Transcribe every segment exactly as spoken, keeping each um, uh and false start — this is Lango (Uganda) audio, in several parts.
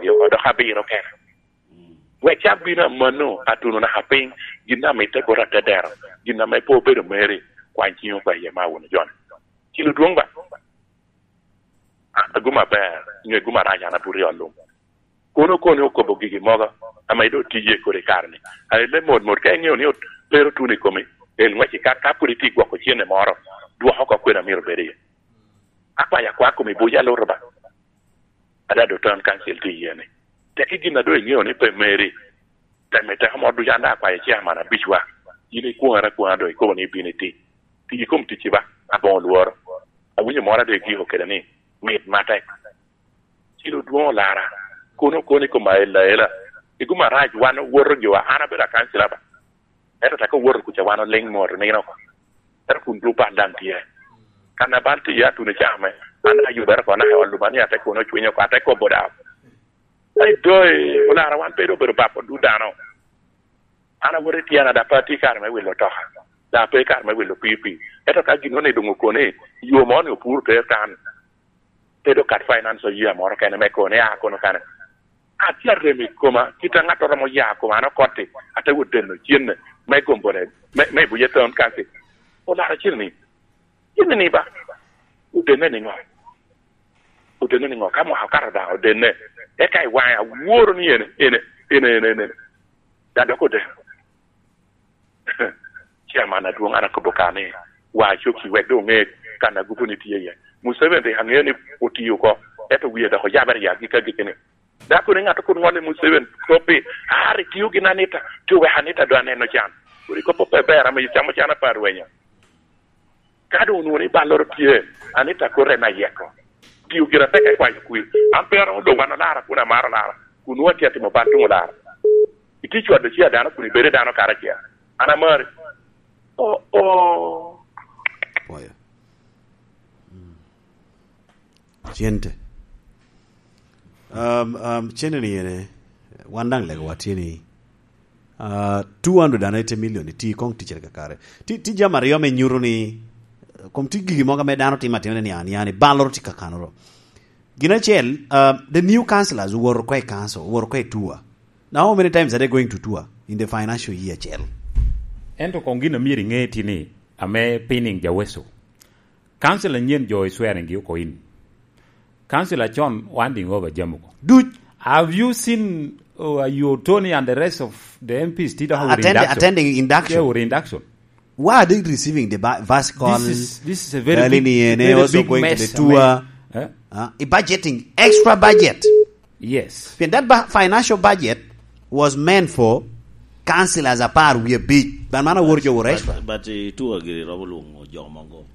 Yo, dok abiro kene. Wek cak bino amanno, atuno naka piny, gin ame ite bot atedero, gin ame pe obedo meri, kwany ciŋo pa iye ma wun ojone. Cilo dwoŋ ba. An aguma aber, nyo iguma arac an abuto i ot lum. Kono kono okobo gigi mogo, ame doŋ tye kodi i kare-ni. Aye le mot mot, ka iŋeo ni ot-, pe ru tuno i komi, el ŋwec i ka, ka pwod itye gwoko cene moro, dwok oko kwena myero obed iye. Akwayo akwa komi buc aluto ba. Ada doŋ town council tye iye ni. Teki gin a doŋ iŋeo ni pe meri. Temme teko moro ducu an daŋ akwayo chairman abicwa. Yin ikwoŋere akwoŋa doŋ ikobo ni ibino iti. Tic ikom ticci ba, aboŋo lworo. Awinyo moro a doŋ igiko kede ni, mit matek. Cilo dwoŋ olara, kono kono i kom aela aela. Iguma arac wan owoto giwa, an abedo akancila ba. Ento teko owoto kuca wan oliŋ mot nino oko. Ento kun dul bal daŋ tye. Kan a bal tye atuno i caa me, an ayubere oko naka i ot luma ni ate kono cwiny oko, ate kobo daŋ. Ai doi, olara wan pe doŋ obedo bap odul dano. An awoto i tyena, daŋ pe atye kare me wilo otoka, daŋ pe kare me wilo pii pii. Ento ka gin ni doŋ okone, yo mo ni opuro ter tan. Te doŋ kat finance oye moro kene me kone, a kono kane. Atye arem i koma, kit a ŋat oromo ya koma, an okotti, ate wot deno cenne, me gombo ne, me, me buye town council. Olara cen ni, cen ni ba, odenne ni ŋo? Odenne ni ŋo? Ka mwaka okato daŋ, odenne. Eka i waŋe aworo ni ene, ene, ene, ene, ene. Daŋ dok odenne. Chairman adwoŋ, an akobo ka ni, wa cokki wek doŋ oŋe kan a gupu ni tye iye. Museveni rik aŋeo ni otio oko, ento wie dok oyabere ya gik agikki ni. Dako ni ŋat okobo ŋolle Museveni, kop ni, "Ah, rik tio gin Anita, tio wek Anita doŋ aneno can." Kodi kop pe ber, ame icamo can apar rwenya. Ka doŋ onwoŋo ni balloro tye, Anita kote en ayeko. Tio gire atek i kwayo kwir. An pe aromo doŋ wan olara kun amaro lara, kun nwoŋo atye atimo bal tuŋ olara. Itye cwado ci a dano kun ibedo i dano karacel. An amari. Oh, oh. Pwoyo. Mm. Cente. Um, um, cente ni ene, wan daŋ legowa tye ni, uh, two hundred and eighty million iti koŋ ticere kakare. Ti, ti jami aryo me nyuto ni, uh, kom ti gigi mogo ame dano timo atima ni an, yani, balloro ti kakanoro. Gin acel, uh, the new councillors owoto ko i council, owoto ko i tour. Now, how many times are they going to tour in the financial year acel? Ento koŋ gin a myero iŋe tye ni, ame pinning Jaweso. Council anyen jo i swearing gi oko in. Council acon winding over jami oko. Duc. Have you seen, uh, your Tony and the rest of the M Ps ti dok with attend-, induction? Attending induction. Yeah, with induction. Why are they receiving the ba-, vascal? This is, this is a very big, very big mess, I mean, also going to the tour? Eh? Uh, budgeting, extra budget. Yes. Pien that ba-, financial budget was meant for councillors apar wie abic. Ban man awor jo wor extra. But, but, eh, tour giri romo lwongo jo mogo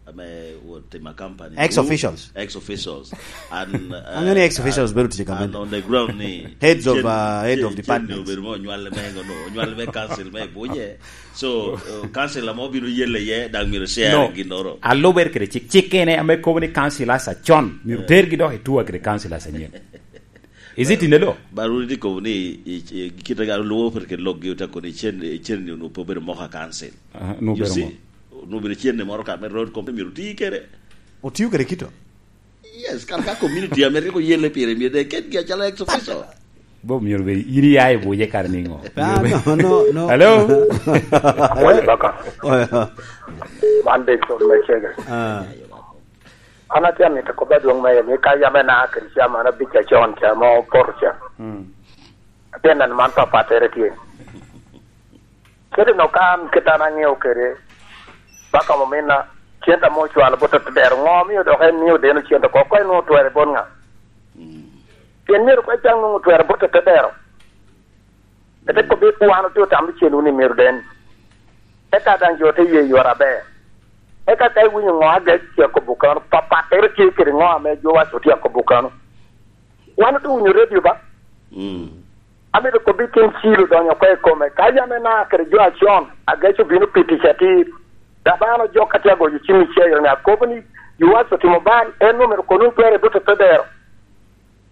ame wot tima company. Ex officials. Ex officials. And, uh, ex officials bedo tye and on the ground ni heads of, uh, head of departments. Obedo mo nywal me ngono, nywal me council me buje. So, uh, council amo bino yelle ye, dang miro share. No. Ginoro. Aluber kede cik. Cik ene ame kobo ni councillors acon, miro tergi dok i tour kede councillors anyen. Is it in the law? But wun itye kobo ni, i, i, kit a luwo per kede lok gi ote kobo ni cen, cen ni onwoŋo pe obedo moko a council. Aha, onwoŋo obedo mo. You see? Onwoŋo obedo cen ni moro ka me road committee myero oti kede. Otiyo kede kito? Yes, kar ka community ame rik oyelle pire myero de ketgi acalo ex officio. Bob myero be, in iya i buje kare niŋo? Ah, no, no, no. Hello? Wai baka. Oh, yeah. Man big son me chege. Ah. An atye amito kobba dwoŋ me ni ka yam ena kede ca man abic acon ca ma opoto ca. Mm. Atye neno man papattere tye. Kede no ka an kit an aŋeo kede, baka ominna, cente ame ocwalo bot otedero, ŋo omio dok en mio deno cente oko? Ko en nwoŋo otwere bot ŋa? Mm. Pien myero ko ecak nwoŋo otwere bot otedero. Ete kobbi wan otye otamo cen wun i myero den. Eka daŋ jo te ye yore aber. Eka ka iwinyo ŋo Agec tye akobo kano, papattere tye kede ŋo ame jo waco tye akobo kano. Wan otye winyo redio ba? Mm. Amito kobbi tin cil odonyo oko i kome. Ka yam ena kede jo acon, Agec obino pi tic atir. Dok ba an ojok atye agoyo cim i cero ni akobo ni, Yuas otimo bal, en omito kono twere bute te dero.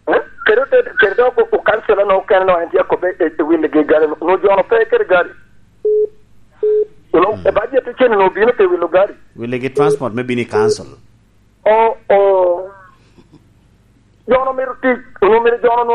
Eh? Kede ote-, kede dok o-, okansila no okene no en tye akobbe e, e wille gi gari no. No jono pe kede gari. You know, mm, e budget cen no obino pe wilo gari. Wille gi transport me bino i council. Oh, oh. Jono mito tic, onwo mito jono nwo